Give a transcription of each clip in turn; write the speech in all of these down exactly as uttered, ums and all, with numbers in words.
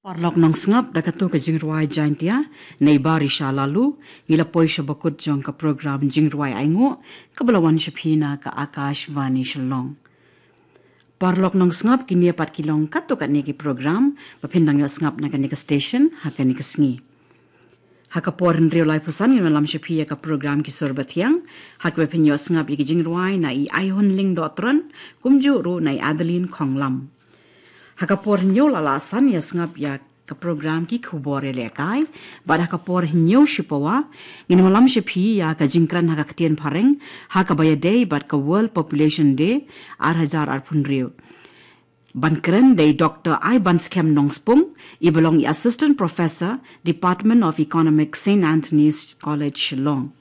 Paralok nongsngap, da katu ka jingrwai Jaintia na i Barisha Lalu, ngi la poi sha bakut jong ka program jingrwai ainguh kaba la wan sha phi na ka Akashvani Shillong. Paralok nongsngap, kine pat ki long katto katne ki program ba phin dang ïoh sngap na kane ka station ha kane ka sngi. Ha ka por hynriew laiphew san ngin ïalam sha phi ïa ka program Ki Sur Bathiang, ha kaba phin ïoh sngap ïa ki jingrwai na i Aihunling Dohtron, kumjuh ruh na i Adeline Khonglam. Ha ka por hynñiew la lah san ïa sngap ïa ka program Ki Khubor Ïalehkai, bad ha ka por hynñiew shipawa ngin ïalam sha phi ïa ka jingkren ha ka ktien phareng ha kaba ïadei bad ka World Population Day ar hajar arphew hynriew. Ban kren da i Doktor Aibanskhem Nongspung, i ba long i Assistant Professor, Department of Economics, Saint Anthony's College, Shillong.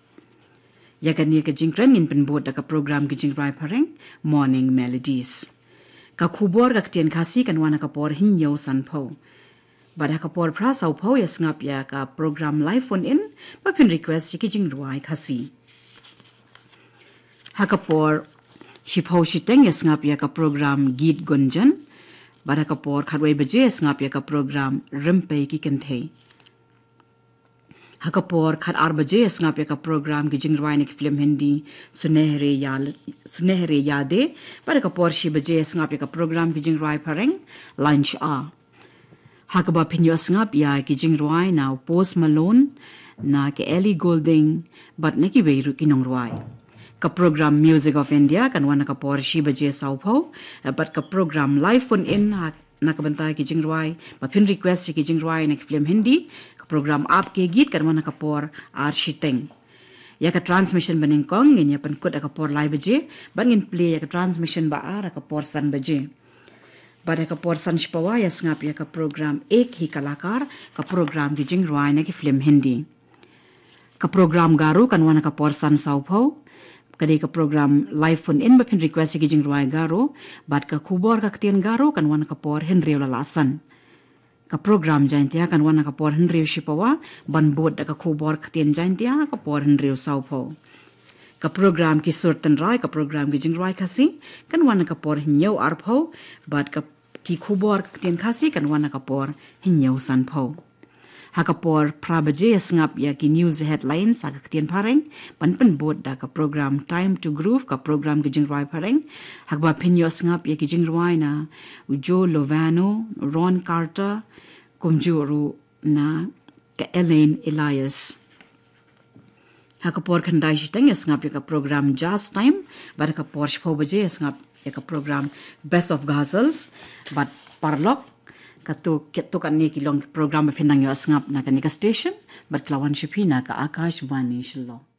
Ïa kane ka jingkren ngin pynbud da ka program ki jingrwai phareng, Morning Melodies. Ka khubor ka ktien Khasi kan wan ha ka por hynñiew sanphew. Bad ha ka por phra sawphew ïa sngap ïa ka program Live Phone In, ba phin request ïa ki jingrwai Khasi. Ha ka por shiphew shiteng ïa sngap ïa ka program Geet Gunjan, bad ha ka por khatwei baje ïa sngap ïa ka program Rympei ki Kynthei. Ha ka por khatar baje ïa sngap ïa ka program ki jingrwai na ki film Hindi, Sunehre Ya, Sunehre Yaadein, bad ha ka por shi baje ïa sngap ïa ka program ki jingrwai phareng, Lunch Hour. Ha kaba phin ïoh sngap ïa ki jingrwai na u Post Malone, na ka Ellie Goulding, bad na kiwei ruh ki nongrwai. Ka program Music of India kan wan ha ka por shi baje sawphew, bad ka program Live Phone In ha, na ka bynta ki jingrwai, ba phin request ïa ki jingrwai na ki film Hindi, ka program Aap Ke Geet kan wan ha ka por ar shiteng. Ïa ka transmission ba nyngkong ngin ïa pynkut ha ka por lai baje, bad ngin plie ïa ka transmission ba ar ha ka por san baje. Bad ha ka por san shipawa ïa sngap ïa ka program Ek Hi Kalakar, ka program ki jingrwai na ki film Hindi. Ka program Garo kan wan ha ka por san sawphew. Ka dei ka program Live Phone In ba phin request ïa ki jingrwai Garo, bad ka khubor ka ktien Garo kan wan ha ka por hynriew la lah san. Ka program Jaintia kan wan ha ka por hynriew shipawa, ban bud da ka khubor ka ktien Jaintia ha ka por hynriew sawphew. Ka program Ki Sur Tynrai, ka program ki jingrwai Khasi, kan wan ha ka por hynñiew arphew, bad ka ki khubor ka ktien Khasi kan wan ha ka por hynñiew sanphew. Ha ka por phra baje ïa sngap ïa ki news headlines ha ka ktien phareng, ban pynbud da ka program Time to Groove, ka program ki jingrwai phareng, ha kaba phin ïoh sngap ïa ki jingrwai na u Joe Lovano, Ron Carter, kumjuh ruh na ka Elaine Elias. Ha ka por khyndai shiteng ïa sngap ïa ka program Jazz Time, bad ha ka por shiphew baje ïa sngap ïa ka program Best of Ghazals, bad paralok, katu, katu katne ki long ki program ba phin dang ïoh sngap na kane ka station, bad ka la wan sha phi na ka Akashvani Shillong.